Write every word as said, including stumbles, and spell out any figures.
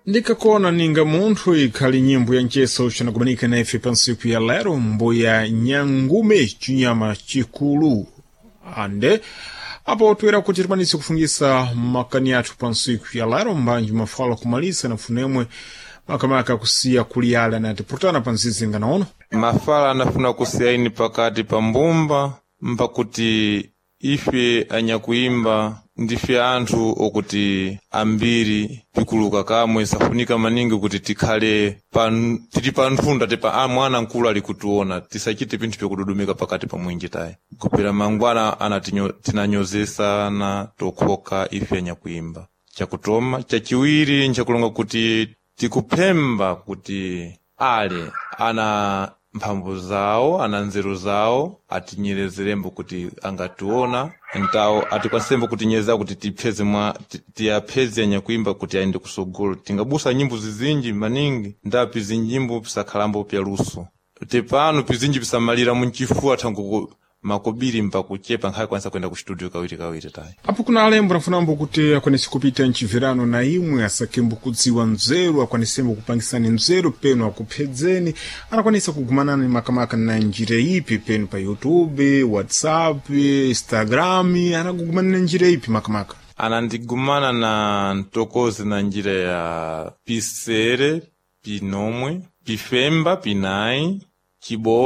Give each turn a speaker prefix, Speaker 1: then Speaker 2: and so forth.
Speaker 1: Ndikakona ninga munthu ikhali nyimbo ya mcheso cinakumanika na ife pa ntsiku ya lero, mbuya Nyangume, chinyama chikulu. Ande apo toera kuti tikwanise kufungisa makani athu pa ntsiku ya lero, mbanji mafala kumalisa na funemwe makamaka kusiya kuliyala na tiputana pa nzizinga naono.
Speaker 2: Mafala anafuna kusiyaini pakati pa mbumba mpakuti ife anyakuimba ndife anthu okuti ambiri pikuluka kamwe safunika maningi kuti tikhale pa, tili pa nthunda tipa a mwana mkulu ali kutiona, tisachite pinthu pyakududumika pakati pa mwinji tayi kupera mangwana anatinyo- tinanyozesana tokhoka ife anyakuimba. Chakutoma chachiwiri nchakulonga kuti tikuphemba kuti ale ana mphamvu zawo, ana nzeru zawo, atinyerezerembo kuti angationa ntawo atikwasembo kutinyereza kuti tipheze mwa ti- tiyapheze anyakuimba kuti ayende kusogolo. Tingabusa nyimbo zizinji maningi ndapi zinyimbo pisakhalambo pya luso tepano pizinji pisamalira munchifuwa thangu makobiri mpakuchepa nkhale kwanisa kuyenda ku studio kawiri kawiri tayi.
Speaker 1: Apo kuna alembo nafunambo kuti akwanise kupita mchiverano na imwe asakembo kudziwa nzeru, akwanisembo kupangisani nzeru penu akuphedzeni, anakwanisa kugumanani makamaka na njira ipi penu pa YouTube, WhatsApp, Instagram, anakugumana na njira ipi makamaka?
Speaker 2: Anandigumana na ntokozi na njira ya pisere, pinomwe, pifemba, pinayi, chibo.